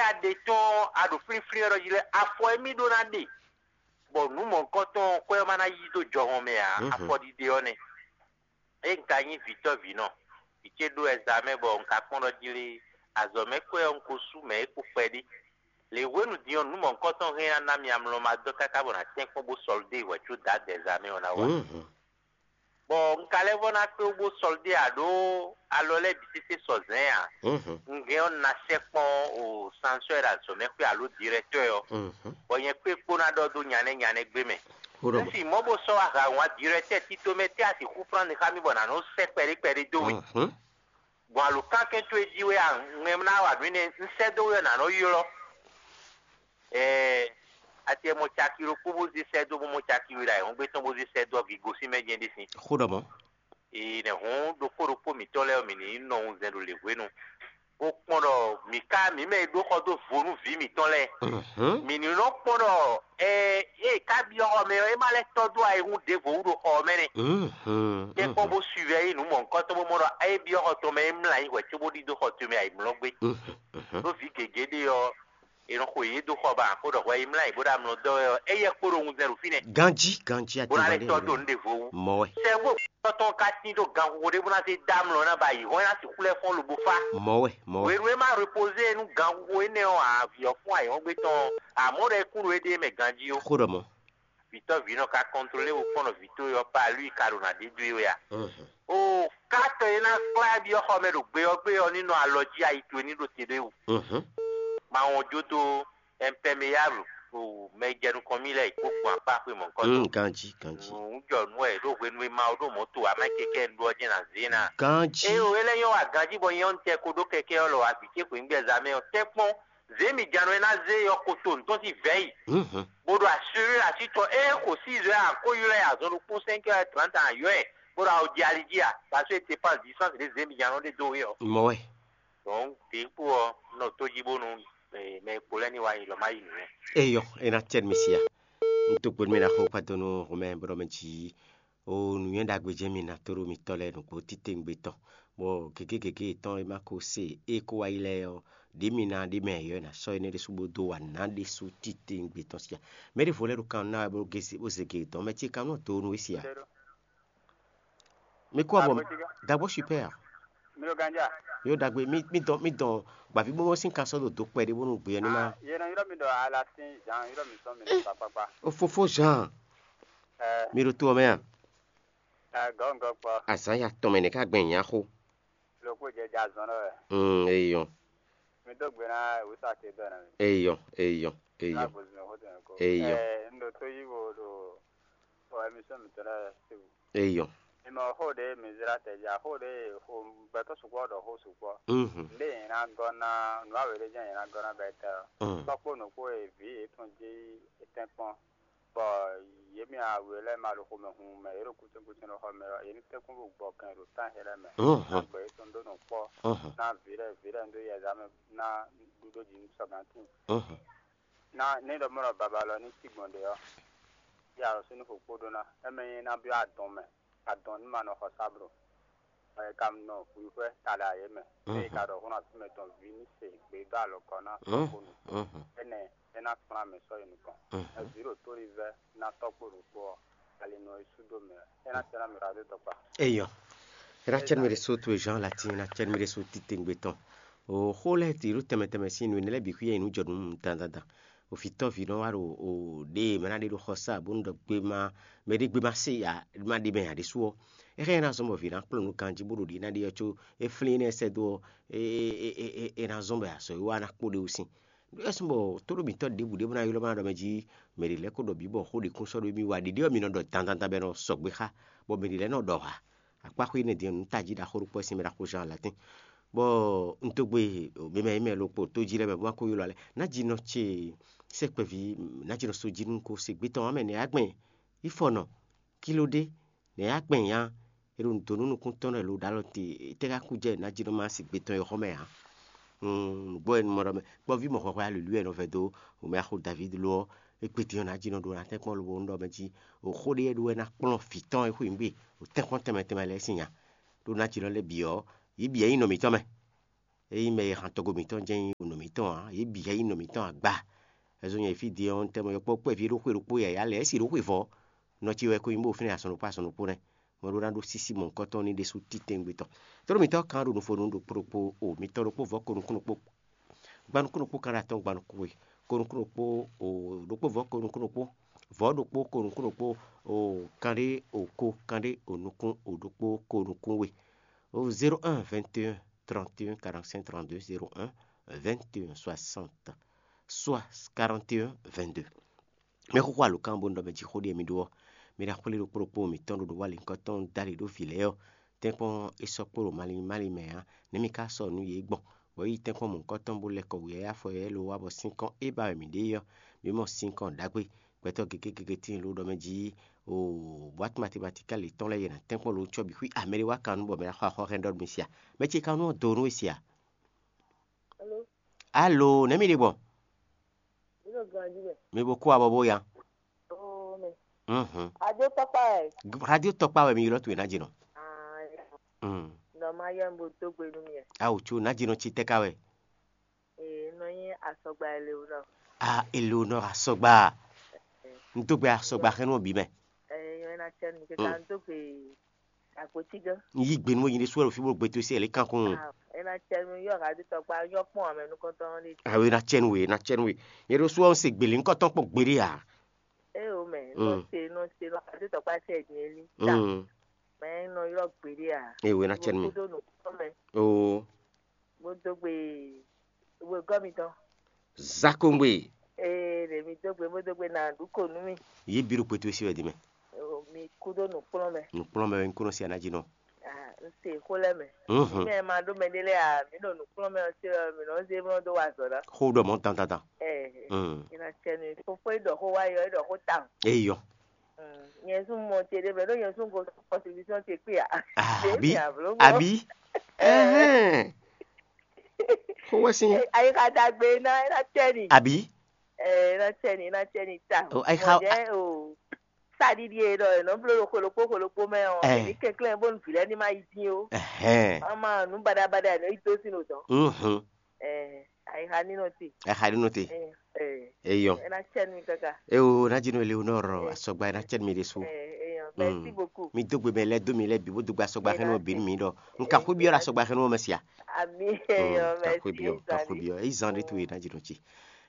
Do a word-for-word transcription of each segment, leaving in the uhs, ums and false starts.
a ɖe tɔn a ɖo flínflín wɛ ɖɔ jí lɛ́ɛ, afɔ émí ɖó ná ɖe, bɔ nǔ mɔ̌hunkɔtɔn ɔ́, kwɛ́ ɔ́ ma ná yí dó jɔhɔn mɛ ǎ. Afɔɖiɖe ɔ́ nɛ́. Ényí un ka nyí vǐtɔ́vǐnɔ, vǐ ce ɖó ɛzamɛ bɔ un ka kpɔ́n ɖɔ jí lé, azɔ̌ mɛ kwɛ́ ɔ́, un ko sú mɛ é kpo kpɛɖé. Le hwenu din ɔ́, nǔ mɔ̌hunkɔtɔn hɛn ná ná mì amlɔ ma dɔ́ káká bɔ nǎ tɛ́nkpɔ́n bó sɔlidé hwɛ̌ có Dǎdɛ ɛzamɛ ɔ́ ná wá. Bɔ un ka lɛ́ vɔ́ ná kpé wú bó sɔlidé ǎ ɖó alɔ lɛ́ɛ bǐ sésé sɔ zɛ̌n ǎ. Un hɛn ɔ́, un ná sɛkpɔ́n o sansɔ́ e ɖo azɔ̌ mɛ xwé alo dirɛtɔ́ ɔ́, bɔ nyɛ kpé kpó ná ɖɔ dó nyanɛ nyanɛ gbé mɛ. Un sin mɔ̌ bó sɔ́ wá hǎ wǎn dirɛtɔ́ tito mɛ tɛ́ a sixú flán xá mì bɔ nǎ nɔ sɛ́ kpɛɖé kpɛɖé dó we. Gbɔn alǒkankɛn towe jí wɛ a ŋmɛ ná wa nǔ énɛ́ un sɛ́ dó we ɔ́, nǎ nɔ ylɔ́. Ɛɛ, a tɛ mɔ caki ɖokpó bó zé sɛ́ dó, bó mɔ caki we ɖo ayǐhɔ́ngbe tɔn bó zé sɛ́ dó ɔ́, gǐgosín mɛ jɛ́n ɖé sín. Xó ɖɔ mɔ̌. Ee, nɛ̌ hǔn ɖokpó ɖokpó mǐtɔn lɛ́ɛ ɔ́, mǐ ní nɔ wunzɛn ɖo lěhwenu, bó kpɔ́n ɖɔ mǐ ka mǐ mɛ e ɖó xɔ dó vo nú vǐ mǐtɔn lɛ́ɛ. Mǐ ní nɔ kpɔ́n ɖɔ ɛ ée ka byɔ́ xɔ mɛ ɔ́, é má lɛ́ tɔ́ dó ayihún ɖěvo wú ɖo xɔ ɔ́ mɛ nɛ́. Tɛ́nkpɔ́n bó suivɛ yí nǔ mɔ̌hunkɔtɔn bó mɔ ɖɔ é byɔ́ xɔ tɔn mɛ é mlá yí hwɛ̌ cóbó ɖidó xɔ towe mɛ ayǐmlɔ́gbé. Ɖó vǐ gěgé ɖé ɔ́, è nɔ xo yě dó xɔ ba, xó ɖɔ hwɛ yi mlá yě bó ɖo amlɔ dɔ́ wɛ ɔ́, éyɛ́ kpo ɖo wunzɛn ɖo fínɛ́. Ganjí, ganjí, bó ná lɛ́ tɔ́ dó nǔ ɖěvo wú. Mɔ̌ wɛ. Sɛ́vó tɔn ka tín ɖó ganxixo ɖé bó ná zé dó amlɔ ná ba yi hɔn ná sixú lɛ́ fɔ́n lobo fá. Mɔ̌ wɛ, mɔ̌ wɛ. Hwenu e má repoze nú ganxixo énɛ́ ɔ́, ǎ, vǐ ɔ́ fún ayǐhɔ́ngbe tɔn ɔ́, ǎ, mɔ̌ ɖɔ é kún ɖo éɖée mɛ ganjí ó. Xó ɖɔ mɔ̌. Vǐtɔ́ vǐnɔ ka kɔntlolé bo kpɔ́n ɖɔ vǐtɔ́ e ɔ́ pa alú i ka ɖo nǎ ɖe dó e wɛ a? O, kátɔ e ná kplá byɔ́ xɔ mɛ ɖo gbe ɔ́ gbe ɔ́ ní nɔ alɔ jí ayi towe ní ɖo te ɖó e wú. Ma wɔn jó dó ɛnpɛmeyáblu o mɛ e jɛ nukɔn mì lɛ́ɛ yi kpó gbɔn akpá xwe mɔ̌hunkɔtɔn. Ganjí, ganjí. Nǔ jɔ nú wɛ ɖó hwenu e ma ɔ́ ɖo mɔ̌ to amɛ kɛkɛ un ɖó ɔ́ jɛ́n ná zě ná. Ganjí. Ée o, é lɛ́ nyɔ́ wa ganjí bɔ nyɛ ɔ́ un tɛ ko ɖó kɛkɛ ɔ́ lɔ wa vǐ ce xweyǐngbe zǎmɛ ɔ́, tɛ́nkpɔ́n zě mǐ jǎn nɔ e ná zé yɔkotonu tɔn sín vɛ̌ yi, bó ɖo asúrí así tɔn ée xo sí zɔ́ ɛ a ko ylɔ́ ɛ azɔn ɖokpó sɛ́nkɛ ɛ trǎnta a ylɔ́ ɛ, bó ɖo awo jɛ ali jí a, parce que c'est pas distance ɖě zě mǐ jǎn nɔ ɖe dó we ɔ́. Mɔ̌ wɛ. Donc ɖě kpó ɔ́, un nɔ tó jí bónú mɛ e kpo lɛ́ɛ ní wá yi lɔ má yi nǔ. Eyɔ, é ná cɛ mi sia. Un tó gbódú mì ná xó kpádo nú Homɛ bó ɖɔ mɛ jí. O nǔnywɛ́ ɖagbe jɛ́n mi ná tó ɖó mitɔ́ lɛ́ɛ nǔgbó titewungbe tɔn, bɔ gěgé gěgé yětɔn e ma ko se é kó wá yi lɛ́ɛ ɔ́, ɖě mi ná ɖě mɛ yɔ̌ ná sɔ́ énɛ́ ɖésú bó dó wa nǎ ɖésú titewungbe tɔn sia. Mɛ ɖěvo lɛ́ɛ ɖo kan ná wɛ bó gé bó zé gě dɔn mɛ ce kan nɔ do nú we sia. Mi kú abɔ dagbó super. Mi ɖo ganja. Yo ɖagbe mi mi dɔn mi dɔn gbàví bó sín kan sɔ́ ɖo dó kpɛɖé bónú gbé ɔ́ ní má. Ah, yé nɔ ylɔ́ mi ɖɔ alasin Jean ylɔ́ mi sɔ́ mi ɖo kpakpakpa. O fofó Jean. Ɛ Mi ɖo to ɔ́ mɛ a? Ɛ gɔngɔ kpɔ. Azǎn ya tɔn mɛ nɛ̌ ká gbɛn nyǎ xó. Loko jɛ jɛ azɔn ɖɔ wɛ. Mm, eyɔn. Mi dó gbe ná wusa te dɔ na mi. Eyɔn, eyɔn, eyɔn. Lágbo zun xó tɛn ko. Eyɔn. Ɛ n ɖo tó yí wo ɖo ɔ émission mi tɔn lɛ si. Eyɔn. Mi mɔ xó ɖé mi zra tɛ ja xó ɖé xó gbɛtɔ sukpɔ ɖɔ xó sukpɔ. Mhm. Nde yẹn na gɔ na nu awe ɖe jẹ yẹn na gɔ na bɛ tɛ. Mm. Kpɔkpɔ nukpo e vi yetɔn dzi etɛn kpɔn. Bɔ yě mɛ awe lɛ́ɛ ma ɖo xomɛ hun mɛ, yě ɖo kútɛ́nkútɛ́n ɖo xɔ mɛ ɔ́, yě ní tɛ́nkpɔ́n bó gbɔ kɛn ɖo tán hɛ lɛ́ɛ mɛ. Mhm. Ná gbɛ yětɔn ɖó nǔ kpɔ́, mhm, ná vǐ lɛ́ɛ vǐ lɛ́ɛ ɖó yɛ zǎ mɛ ná ɖu ɖó jǐ nú sɔ́gbɛ́n tíin. Mhm. Ná ní ɖɔ mɔ̌ ɖɔ babalɔ ní cí gbɔn ɖě ɔ́, yě alɔ sín ní xo kpó ɖó ná. É mɛ nyí ná byɔ́ adɔn mɛ, adɔn ní ma nɔ xɔ sáblo. Ɛ ka nɔ hwihwɛ ta ɖe ayé mɛ. Mhm. Eye ka ɖɔ hún asú mɛ tɔn ví ní se gbě dó alɔkɔ ná sɔkpó nukɔn. Mhm. Énɛ́ é ná kplán mɛ sɔ́ yi nukɔn. Mhm. Ɛ vǐ ɖo tóli vɛ́ ná tɔ́kpó ɖokpó ɔ́, ali nɔ yi sú dó mɛ. É ná tɛ́ ná mi ɖo adó tɔkpa. Eyɔ. É ná cɛ́ nú mi ɖésú towe Jean Latin, é ná cɛ́ nú mi ɖésú titewungbe tɔn. O xó lɛ́ɛ ti ɖó tɛnmɛ tɛnmɛ sín nǔ énɛ́ lɛ́ɛ bǐ xwíyá nyi nǔ jɔ nú dandandan. O vǐtɔ́ví nɔ wá ɖo o ɖě e mɛ ná ɖe ɖo xɔsá bónú ɖɔ gbema mɛ ɖé gbema se ya ma ɖi mɛ ǎ ɖésú ɔ́, é hɛn ná zɔ́n bɔ vǐ ná kplɔ́n nǔ ganjí bó ɖo ɖě ná ɖe ɔ́, có é flín énɛ́ sɛ́ dó ɔ́, é é é é é ná zɔ́n bɔ azɔ̌ e wa ná kpó ɖe wú sín. É sún bɔ tóɖó mǐtɔn ɖěbǔ ɖé bó ná ylɔ́ má ɖɔ mɛ jí mɛ ɖě lɛ́ kó ɖɔ bǐ bɔ xó ɖě kún sɔ́ ɖó émí wá ɖiɖi ɔ́, mi nɔ ɖɔ dandandan bɔ é nɔ sɔgbe xá, bɔ mɛ ɖě lɛ́ɛ nɔ ɖɔ hǎ. Akpáxwé énɛ́ din ɔ́, nǔ tají ɖaxó ɖokpó wɛ sín mɛ ɖaxó Jean Latin. Bɔ un dó gbe mɛ e mɛ lo kpo tó jí lɛ́ɛ mɛ bó má kó ylɔ́ alɛ. Nǎjínɔ ce sɛ́ kpɛví, nǎjínɔ sójínú ko se gbé tɔn ɔ́ mɛ nɛ́ yá gbɛn yi fɔ nɔ kíló ɖé nɛ́ yá gbɛn nya. É ɖo nǔ dó nú nukúntɔ́ nɔ lo ɖo alɔ te, tɛ́ ká kú jɛ nǎjínɔ má se gbé tɔn e xɔ mɛ ǎ. Nǔgbó wɛ mɔ ɖɔ mɛ kpɔ́ví mɔ hwɛhwɛ alǔlú wɛ nɔ vɛ dó mɛ axo Davídi lo ɔ́, é kpétin ɔ́ nǎjínɔ ɖo ná tɛ́nkpɔ́n lobo nú ɖɔ mɛ jí o xó ɖé wɛ ɖó wɛ ná kplɔ́n vǐ tɔn e xweyǐgbe o tɛ́nkpɔ́n tɛnmɛ tɛnmɛ lɛ́ɛ sín nya. Ɖó nǎjínɔ lɛ́ɛ bǐ ɔ́, yě bǐ wɛ nyí nɔ mǐtɔn mɛ. Ényí mɛ e han tɔgbo mǐtɔn jɛ́n nyí nɔ mǐtɔn ǎ, yě bǐ jɛ́n nyí nɔ mǐtɔn agba. Ɛzɔ́ nyɛ fí din ɔ́, un tɛ́ mɔ yɔkpɔ́ kpɛví ɖó xwé ɖokpó yǎyá lɛ́ɛ, é si ɖó xwé vɔ̌. Nɔ ce wɛ ko nyí bó fínɛ́ azɔn ɖokpó azɔn ɖokpó nɛ́. Mɛ ɖó ná ɖó sísí mɔ̌hunkɔtɔn ní ɖésú titɛngbé tɔn. Tlóló mǐtɔn kan ɖo nufonu ɖokpó ɖokpó o, mǐtɔn ɖokpó vɔ̌ ko nukún ɖokpó, gba nukún ɖokpó kan ɖo atɔ́ɔ́n gba nukún we, ko nukún ɖokpó o, ɖokpó vɔ̌ ko nukún ɖokpó, vɔ̌ ɖokpó ko nukún ɖokpó o, kanɖé o ko, kanɖé o nukún o ɖokpó ko nukún we. O zéro un vingt et un trente et un quarante-cinq trente-deux, zéro un vingt et un soixante soit quarante et un vingt-deux. Mɛ xóxó alǒkan bó nɔ ɖɔ mɛ jixó ɖie mi ɖó ɔ́, mi ɖo axwlé ɖokpó ɖokpó mǐtɔn ɖo nǔwanlínkɔ tɔn dali ɖó vǐ lɛ́ɛ ɔ́, tɛ́nkpɔ́n é sɔ́ kpo ɖo malín málín mɛ ǎ, nɛ̌ mi ka sɔ́ nǔ yě gbɔn, bɔ é yi tɛ́nkpɔ́n mɔ̌hunkɔtɔn bó lɛ́ kɔ wǔyáyá afɔ yɛ́ lo wá bɔ sín kɔn é ba wɛ mǐ ɖe é ɔ́, mi mɔ sín kɔn ɖagbe. Gbɛtɔ́ gěgé gěgé tíin ló ɖɔ mɛ jí o bwǎtu matematikali tɔn lɛ́ɛ yě ná tɛ́nkpɔ́n lo cɔ́ bǐ xwí amɛ ɖé wá kan nú bɔ mɛ ná xɔ axɔ́ hɛn ɖɔ nú mi sia. Mɛ ce ka nú ɔ́ do nú we sia. Alo, nɛ̌ mi ɖe gbɔn? Mi ɖo ganjí mɛ. Mi bo kú abɔ bó ya. Oo mɛ. Mhm. Ajo tɔkpa ɛ. Radio tɔkpa wɛ mi ylɔ́ towe ná jɛ nɔ. Ah, Mm. Nɔ ma yɔ bo dó gbe nú mi ɛ. Awo tso ná jɛ nɔ tsi tɛ ka wɛ. Ee, nɔ nyi asɔgba Eleonor. Ah, Eleonor asɔgba. N dó gbe asɔgba xɛnú bǐ mɛ. Ee, yɔ ena tsɛ nu keka n dó gbe agboti gã. N yí gbe nú nyi ɖésú wɛ ɖo fí bó gbe tó sí ɛlí kankun. Ah, ena tsɛ nu yɔ radio tɔkpa yɔ kpɔn amɛ nukɔntɔn ɖe. Awo ena tsɛ nu we, ena tsɛ nu we. Nyɛ ɖésú ɔ́, n se gbeli ŋkɔtɔn kpɔn gbeɖé a. Ee o mɛ, nɔ Mm. se nɔ se nɔ radio tɔkpa sɛ din eli. Ta. Mm. Mɛ nɔ ylɔ gbeɖé a. Ee o ena tsɛ nu mi. Kudo nu kpɔn mɛ. Oo. Bó dó gbe wegɔ́ mitɔn. Zakongbe. Ee, ɖe mi dó gbe bó dó gbe na ɖu ko nú mi. Yě bí ɖo kpɛtú sí wɛ di mɛ. O, mi kúdó nǔkplɔ́nmɛ. Nǔkplɔ́nmɛ wɛ un kúnɔ sí aná jí nɔ. Ah, n se xó lɛ́ mɛ. Mhm. Mi ma ɖó mɛ ɖé lɛ́ɛ a, mi ɖo nǔkplɔ́nmɛ ɔ́ sí ɔ́, mi nɔ zé mlɔ́ dó wa azɔ̌ ná. Xó ɖɔ mɔ dandandan. Ɛ, Mm. Ina tsɛ mi fofó e ɖɔ xó wá yɔ, e ɖɔ xó tawun. Eyɔ. Mm, nyɛ sún mɔ ce ɖé mɛ, ɖó nyɛ sún go contribution ce kpé a. Ah, Ɖe abi mi avlo mɔ. Abi. Ɛhɛn. Xó wɛ sín. Ayi ka dagbe ná, ena tsɛ ni. Abi. Ɛ, ena tsɛ ni, ena tsɛ ni ta. O, ayi xa- Mɔ jɛ o. Saɖiɖi e ɖɔ e nɔ bló ɖo xolokpó xolokpó mɛ ɔ́, Ɛ. Èmi kɛnklɛ́n bónú vǐ lɛ́ɛ ní ma yi dín ó. Ɛhɛn. Má ma nǔ baɖabaɖa e nɔ yi dó sín nǔ tɔn. Mhm. Ɛ, ayixa ní nɔ te. Ayixa ní nɔ te. Ɛ, ɛ. Eyɔn. Ena tsɛ nú mi káká. Eo, ná jí nú Eleonore asɔgba, ena tsɛ nú mi ɖésú. Ɛ, eyɔn. Merci beaucoup. Mi dó gbe mɛ lɛ́ɛ dó mi lɛ́ɛ bǐ bó dó gbe asɔgba xɛnú ɔ́ bǐ nú mi ɖɔ. Un ka xwé byɔ́ ɖo asɔgba xɛnú ɔ́ mɛ sia. Ami, eyɔn, un ka xwé byɔ́, un ka xwé byɔ́. Eyi zan ɖé towe ná jí nɔ jí.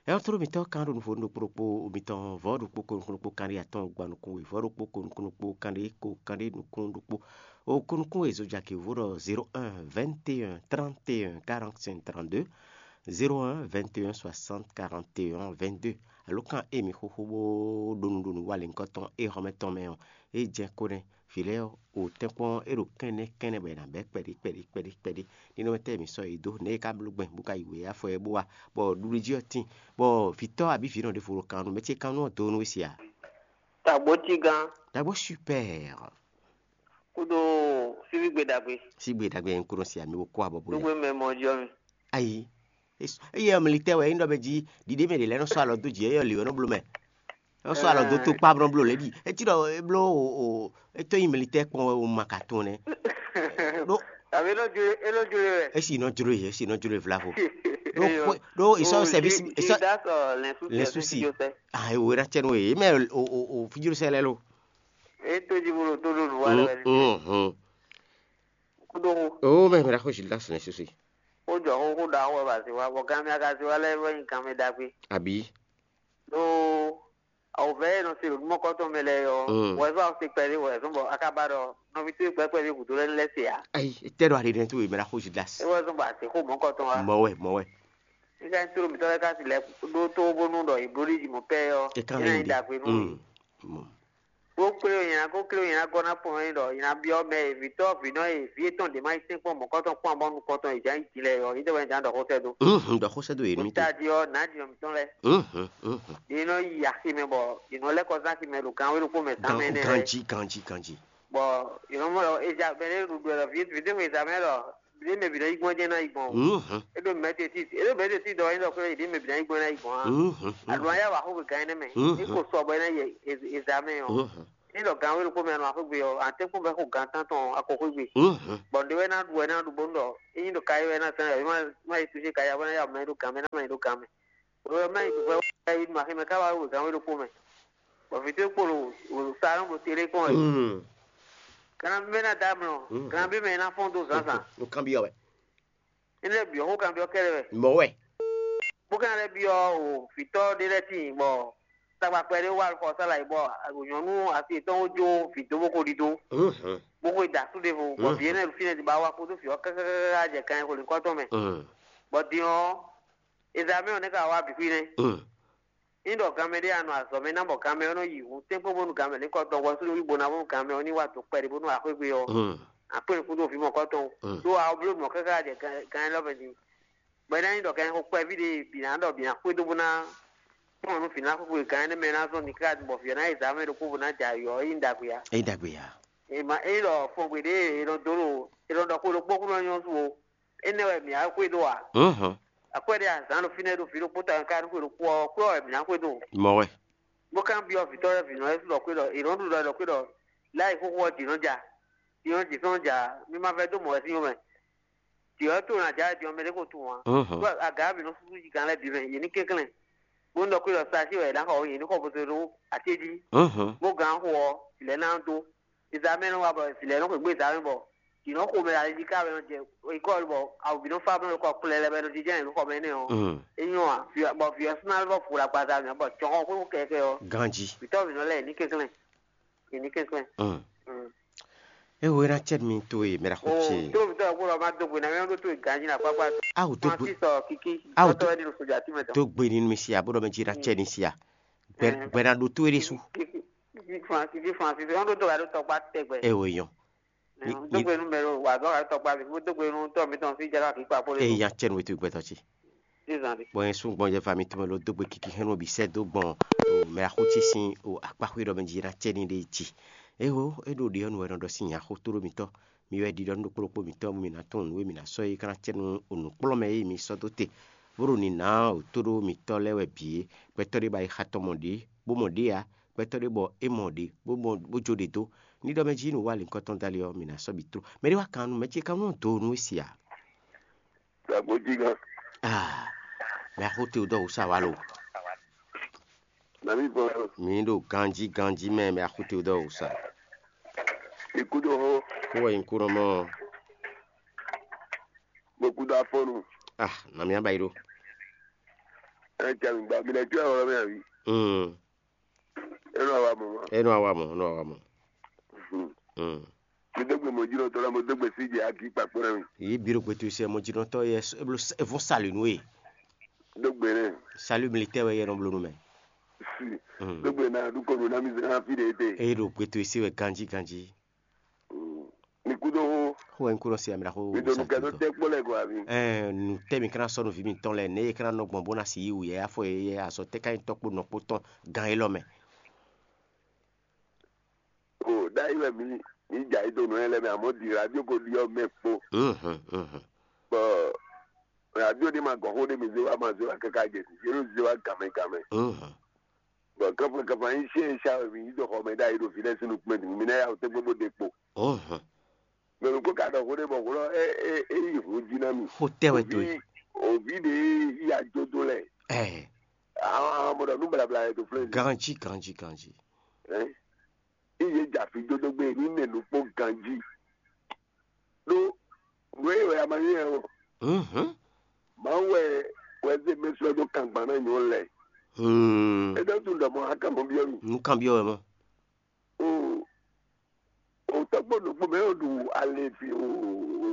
Ɛ́ ɔ́, tlóló mǐtɔn kan ɖo nufó ɖokpó ɖokpó mitɔn vɔ̌ ɖokpó ko nukún ɖokpó kanɖé atɔn gba nukún we vɔ̌ ɖokpó ko nukún ɖokpó kanɖé ko kanɖé nukún ɖokpó. O ko nukún we zojaki vó ɖɔ zéro un vingt et un trente et un quarante cinq trente-deux, zéro un vingt et un soixante quarante et un vingt-deux. Alo kan e mi xóxó bó ɖo nu ɖo nu wa lěhunkɔtɔn e xɔmɛ tɔn mɛ ɔ́, é jɛ kó nɛ́. Vǐ lɛ́ɛ ɔ́, o tɛ́nkpɔ́n é ɖo kɛ́nnɛ́ kɛ́nnɛ́ bɔ è nǎ bɛ́ kpɛɖí kpɛɖí kpɛɖí kpɛɖí. Ní nɔ mɛ tɛ́ mǐ sɔ́ yě dó nɛ̌ é ka bló gbɛn bó ka yi wěyá fɔ ɛ bó wá, bɔ ɖuɖu jí ɔ́ tíin, bɔ vǐ tɔ́ abǐ vǐ nɔ ɖěvo ɖo kan nú mɛ ce kan nú ɔ́ do nú we sia. Tagbo tigán. Tagbo super. Kúdó síbígbe ɖagbe. Sígbe ɖagbe ń kúrò sia mi wo kó abɔ bó yá. Dúgbò mɛ mɔ jɔ mi. Ayi. Eye ɔmlitɛ wɛ é nɔ bɛ jí ɖiɖe mɛ ɖe lɛ nɔ sɔ alɔ dó dzi eye ɔli wɛ nɔ bló mɛ. Nɔ sɔ alɔ dó tó kpá nɔ bló lɛ ɖi. Etí ɖɔ é bló o o é tó nyi mlitɛ kpɔn wɛ o ma ka tɔn nɛ. Ɖó Àbí é nɔ jlé é nɔ jlé wɛ. Esi nɔ jló ye, esi nɔ jló ye vlavo. Ɖó xwe ɖó isɔ sɛbi isɔ lɛ susi. Ah, ewo era tsɛ no ye. Mɛ o o o fijiro sɛ lɛ lo. É tó jí bolo tó ɖo nǔ wa lɛ wɛ. Mhm. Kúdó xó. O mɛ mɛ ɖa xó Gildas lɛ susi. Ó jɔ xó xó ɖa xó wɛ ba zi wa bɔ gan mi aga zi wa lɛ wɛ nyi gan mi ɖagbe. Àbí. Ɖó Awǒvɛ́ e nɔ se ɖo nǔmɔkɔ́tɔn mɛ lɛ́ɛ ɔ́, Mm. Wɔ ɛ zɔ́n awu se kpɛɖé wɔ ɛ zɔ́n bɔ a ka ba ɖɔ nɔví towe kpɛ́kpɛ́ ɖé gǔdo lɛ́ɛ lɛ́ se ǎ. Ayi, tɛ ɖo aɖiɖɛ towe mɛ ɖo axózi ɖe asi. É wɔ ɛ zɔ́n bɔ a se xó mɔ̌kɔtɔn wá. Mɔwɛ, mɔwɛ. Nígbà tí tóɖó mǐtɔn lɛ́ɛ ka si lɛ́ ɖó tó bónú ɖɔ yě bló ɖi jǐ mɔ pɛ́ ɔ́, é kan lɛ́ ɖagbe nú Mm. Mɔ. Bó kplé o nyina kó kplé o nyina gɔ́ ná pɔn é ɖɔ nyina byɔ́ mɛ e vǐtɔ́ vǐnɔ e vǐ yětɔn ɖě ma yi sɛ́nkpɔ́n mɔ̌kɔ́tɔn kpɔ́n abɔ nukɔntɔn e jǎ yi din lɛ́ɛ ɔ́, yě tɛ wɛ jǎ ɖɔ xó sɛ́ dó. Mhm, ɖɔ xó sɛ́ dó yě nú Bó mítɔn. Tají ɔ́, nǎ jǐnɔ mǐtɔn lɛ́ɛ. Mhm, mhm. Yě nɔ yi aximɛ bɔ yě nɔ lɛ́ kɔ zán aximɛ ɖo gan wé ɖokpó mɛ zán mɛ énɛ́ lɛ́ɛ. Ganjí, ganjí, ganjí. Bɔ yě nɔ mɔ ɖɔ eza mɛ ɖé ɖuɖu wɛ ɖɔ vǐ vǐ ɖé xwe zǎn mɛ ɖɔ ɖě mɛ bǐ nɔ yi gbɔn jɛ́n ná yi gbɔn o. Mhm. É ɖo mɛtɛtísi é ɖo mɛtɛtísi ɖɔ é ɖɔ xwé ɖě mɛ bǐ ná yi gbɔn ná yi gbɔn á. Mhm, mhm. Aɖu ayá wǎ xó gan énɛ́ mɛ. Mhm. É ko sɔ bɔ é ná yi eza mɛ ɔ́. Mhm. Ényí ɖɔ gan wé ɖokpó mɛ a nɔ wá xwé gbe ɔ́, a tɛ́nkpɔ́n bɔ é xo gan tántɔn a ko xwé gbe. Mhm. Bɔ nǔɖé wɛ ná ɖu wɛ ná ɖu bónú ɖɔ ényí ɖo kayi wɛ ná zán wɛ, má má yi túnṣe kayi ɔ́, bó ná ya mɛ ɖó gan mɛ, ná mɛ ɖó gan mɛ. Wɛ má yi wɛ wɛ yi nɔ aximɛ ká wá wé gan wé ɖokpó mɛ. Bɔ vǐ towe kpo ɖo sa nɔ ɖo télé kpɔ́n wɛ. Mhm. Kana bí mɛ ná dá mlɔ, Mhm. kana bí mɛ ná fɔ́n dó zǎnzǎn. Nú kan byɔ́ wɛ. Énɛ́ byɔ́ xó kan byɔ́ kɛ́ɖɛ́ wɛ. Mɔ̌ wɛ. Bó ka lɛ́ byɔ́ o vǐtɔ́ ɖé lɛ́ɛ tíin bɔ tagba kpɛɖé wá xɔ sá là yi bɔ nyɔ̌nu asi yětɔn wó jó vǐ dó bó ko ɖidó, Mhm. bó ko yi da asú ɖěvo, bɔ vǐ énɛ́ ɖo fínɛ́ din bɔ awa kpódó vǐ ɔ́ káká jɛ kan e xo lǐnkɔ́ tɔn mɛ. Mhm. Bɔ din ɔ́, Ezamɛ́ɛ ɔ́ nɛ́ ka wá bǐ xwí nɛ́. Mhm. Ní ɖɔ ganmɛ ɖé a nɔ azɔ̌ mɛ ná bɔ ganmɛ ɔ́ nɔ yi hǔn tɛ́nkpɔ́n bónú ganmɛ ní kɔ tɔn hwɛsú ní bó ná bónú ganmɛ ɔ́ ní wá dǒ kpɛɖé bónú axwé gbe ɔ́, Mhm. akpé nukún dó vǐ mɔ̌kɔ́ tɔn. Mhm. Ɖó a bló mɔ̌ káká jɛ gan élɔ́ mɛ din. Bɔ é ná nyí ɖɔ gan xo kpɛví ɖé bǐ ná ɖɔ bǐ ná xwedó bó ná kplɔ́n nú vǐ ná xwé gan énɛ́ mɛ ná zɔ́n din káká bɔ vǐ ɔ́ ná yi zǎn mɛ ɖokpó bó ná jɛ ayɔ ɔ́, é nyí ɖagbe ǎ. É ɖagbe ǎ. È ma é ɖɔ fɔngbe ɖě è nɔ dó ɖo è nɔ ɖɔ xwe ɖokpó kú nɔ nyɔ́ su o. Énɛ́ wɛ mǐ á xwedó ǎ. Mhm. Akwɛ́ ɖé azǎn ɖo fínɛ́ ɖo vǐ ɖokpó tɔn ká nú xwe ɖokpó ɔ́, xwé ɔ́ wɛ mǐ ná xwedó. Mɔ̌ wɛ. Bó ká byɔ́ vǐtɔ́ lɛ́ɛ vǐ nɔ lɛ́ɛ ɖɔ xwé ɖɔ è nɔ́ ɖu ɖɔ ɖɔ xwé ɖɔ láyi xóxó ɔ́ jǐ nɔ́ ja. Jǐ nɔ́ jǐ sɔ́ nɔ́ ja. Mí má vɛ́ dó mɔ̌ wɛ sín yómɛ. Jǐ ɔ́ to nɔ ajǎ din ɔ́, mɛ ɖé ko tunwun ǎ. Mhm. Ɖó aga ɔ́ bǐ nɔ súsú jigán lɛ́ɛ bǐ mɛ, yě ní kɛnklɛ́n. Bó nɔ ɖɔ xwé ɖɔ sa sí wɛ è nǎ xɔ yě ní xɔ bo dó ɖó até jí. Mhm. Bó gǎn xo ɔ́, vǐ lɛ́ɛ ná dó. Ezamɛ nɔ wa bɔ vǐ lɛ́ɛ nɔ xweyǐgbe ezamɛ bɔ jǐ nɔ xo mɛ ali jí ká wɛ nɔ jɛ école bɔ awu bǐ nɔ fá bɔ nɔ kɔ kplɛ lɛ́ɛ bɔ é nɔ jínjɔ́n yě nɔ xɔ mɛ énɛ́ ɔ́. Mhm. É nyɔ́ ǎ. Vǐ bɔ vǐ ɔ́ sín ná vɔ fu ɖo agbaza mɛ bɔ jɔhɔn xwé kɛkɛ ɔ́. Ganjí. Vǐtɔ́ vǐ nɔ lɛ́ɛ yě ní kɛnklɛ́n. Yě ní kɛnklɛ́n. Mm. Mm. Ewé ná cɛ mi to e mɛ ɖo xó ce. Tó mi tɔ́ kó lɔ má dó gbe ná mɛ ɖó tó e ganjí ná kpákpá. Awu dó gbe. Francis ɔ kiki. Awu dó. Tɔ́tɔ́ wɛ ní ɖo soja tí mɛ tɔn. Dó gbe ní mi sia bó ɖɔ mɛ jí ná cɛ ní sia. Gbɛ gbɛ ná ɖo tó e ɖésú. Kiki Francis Francis ɔn ɖo tó wɛ ɖo tɔkpa tɛgbɛ. Ewé yɔn. Dó gbe nú mɛ ɖo wà dó wà tɔkpa mi kó dó gbe nú tɔ́ mi tɔn sí jáká kí kpa kó lé. Eya cɛ nú ètò ìgbẹ́tọ̀ ce. Bɔn yẹn sún gbɔn yẹ va mi tɔn mɛ ló dó gbe kiki hɛn nɔ bǐ sɛ dó gbɔn o mɛ axó ce sín o akpáxwé ɖɔ mɛ jí ná cɛ ní ɖe jí. Éwo é ɖo ɖe ɔ́ nu wɛ nɔ ɖɔ sín nya xó tó ɖó mitɔn. Mi wɛ ɖiɖɔ nú ɖokpó ɖokpó mitɔn mi ná tunwun nǔ e mi ná sɔ́ é ká ná cɛ nú o nǔkplɔ́nmɛ e mi sɔ́ dó te. Bó ɖo nǐ ná o tó ɖó mitɔn lɛ́ɛ wɛ bǐ é. Gbɛtɔ́ ɖé ba yi xa tɔn mɔ ɖě bó mɔ ɖě ǎ. Gbɛtɔ́ ɖé bɔ é mɔ ɖě bó mɔ bó jó ɖě dó. Ní ɖɔ mɛ jí nǔ wa lǐnkɔ́ tɔn dali ɔ́, mi ná sɔ́ bǐ tló. Mɛ ɖé wá kan nú mɛ ce kan nɔ do nú é si ǎ. Dagbo jí gán. Ah, mɛ axó te dɔ wǔ sa wá lo. Nami bɔ. Mi ɖo ganjí ganjí mɛ mɛ axó te dɔ wǔ sa. Ikú ɖo hó. Kó wɛ nyí kó nɔ mɔ. Mo kú ɖo afɔnu. Ah, nami aba yi ɖo. Ɛ jɛ mi gba mi lɛ jɔ ɛwɔ mɛ awi. Mm. Enɔ awa mɔ. Enɔ awa mɔ, enɔ awa mɔ. Hmm. Hmm. Mi dó gbe mɔjínɔtɔ la, mo dó gbe sí jɛ agi kpakpo na mi. Yi biro gbe to se mɔjínɔtɔ yɛ eblo evo sali nu e. Dó gbe nɛ. Salut militaire wɛ yɛ nɔ blo nu mɛ. Si. Hmm. Dó gbe na du kɔnu na mi zan fi de te. Eye ɖo gbe to se wɛ ganji ganji. Hmm. Mi kudo ho. Ho en kuro si amira ho. Mi do nu kɛ do tɛ kpɔ lɛ gɔ abi. Ɛɛ nu tɛ mi kana sɔ nu vi mi tɔn lɛ ne ye kana nɔ gbɔn bo na si yi wu yɛ afɔ ye yɛ azɔ tɛ ka yi tɔ kpo nɔ kpo tɔn gan ye lɔ mɛ. O ɖ'ayǐ wɛ mǐ mǐ jɛ ayǐ do nǔ lɛ́ɛ mɛ, amɔ̌ ɖi radio ko ɖi ɔ́ mɛ kpo. Mhm, mhm. Bɔ radio ɖé ma gɔn xó ɖé mǐ zé wá ma zé wá káká jɛ yě ɖo zé wá gǎnmɛ gǎnmɛ. Mhm. Bɔ kánfan kánfan yín syɛ́n e sá wɛ mǐ yí dó xɔ mɛ ɖ'ayǐ ɖo vǐ lɛ́ɛ sín nukún mɛ din, mǐ ná yá wǔ tɛ́ngbɔ́n bó ɖe kpo. Mhm. Mɛ ɖokpó ka ɖɔ xó ɖé bɔ xó lɔ é é é yi hun jí ná mì. Xó tɛ wɛ to yi. Òví ɖé yí ajó dó lɛ. Ɛɛ. Àwọn àwọn ọmọdé ọdún balabala yẹ tó flé. Ganji ganji ganji. Ɛ iye dza fi dzodo gbe ní nɛ nukpó ganji. Ɖó nǔ e wɛ a ma nyí ɛ o. Mhm. Mawu wɛ wɛ zé mɛ sɔ́ dó kangban ná nyɔ lɛ. Hmm. É ɖɔ tún ɖɔ mɔ akamɔ byɔ́ mi. Nú kan byɔ́ wɛ mɔ. O o tɔgbo nukpó mɛ o ɖu ale fi o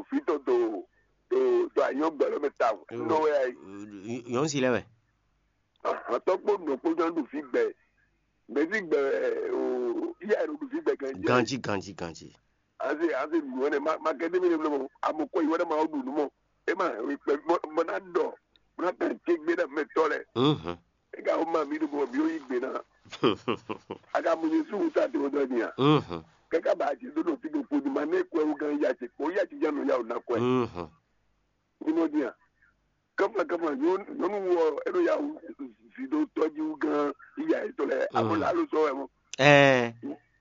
o fi tɔ do do do anyɔ gbɛlɛ mɛ ta nɔ wɛ ayi. Yɔn si lɛ wɛ. Ahan tɔgbo nukpó jɔ ɖu fi gbɛ mɛ fi gbɛ o iya ɖo ɖu fi gbɛ ganji. Ganji ganji ganji. Ase ase nu wɛ ma ma kɛ demi ne blɔ mɔ amo kɔ yi wɛ ma o ɖu nu mɔ e ma hɛn wi kpɛ mɔ na dɔ mɔ na kan tse gbe na mɛ tɔ lɛ. Mhm. E ka o ma mi ɖo bɔ mi o yi gbe na. A ka mu Jesu wuta te o dɔ nia. Mhm. Kaka ba Jesu ɖo fi ɖo kpo di ma ne kɔ ewu gan ya tse kpo ya tse ja nɔ ya o na kɔ ɛ. Mhm. Ni mo dia. Kama kama nyɔnu wɔ e ɖo ya wu si ɖo tɔjiwu gan iya etɔ lɛ abo la lo sɔ wɛ mɔ. Ɛɛ.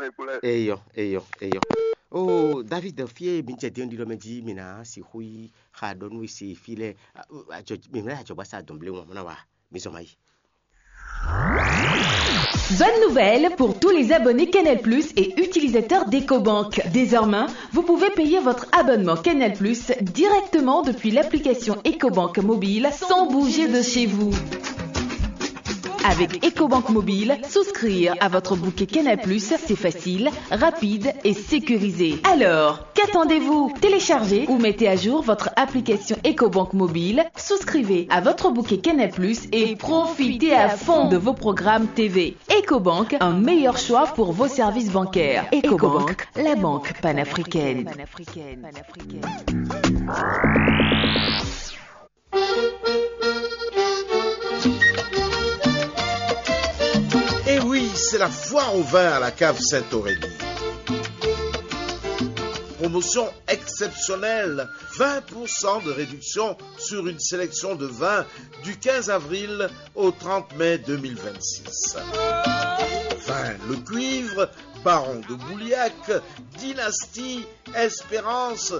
mɛ kplɔ́ ɛ. Eyɔ, eyɔ, eyɔ. Oh, David, fie mi jɛ den ɖiɖɔ mɛ jí mi ná sixú yi xa ɖɔ nú esi fí lɛ. Mǐ mlɛ ajɔgbasa dɔn blé wọn mɔ ná wa. Mi zɔn ma yi. Bonne nouvelle pour tous les abonnés Canal Plus et utilisateurs d'EcoBank. Désormais, vous pouvez payer votre abonnement Canal Plus directement depuis l'application EcoBank mobile sans bouger de chez vous. Avec EcoBank Mobile, souscrire à votre bouquet Canal Plus, c'est facile, rapide et sécurisé. Alors, qu'attendez-vous ? Téléchargez ou mettez à jour votre application EcoBank Mobile, souscrivez à votre bouquet Canal Plus et profitez à fond de vos programmes T V. EcoBank, un meilleur choix pour vos services bancaires. EcoBank, la banque panafricaine. Et oui, c'est la foire au vin à la cave Saint-Aurélie. Promotion exceptionnelle, vingt pour cent de réduction sur une sélection de vins du quinze avril au trente mai deux mille vingt-six. Vin Le Cuivre, Baron de Bouliac, Dynastie, Espérance,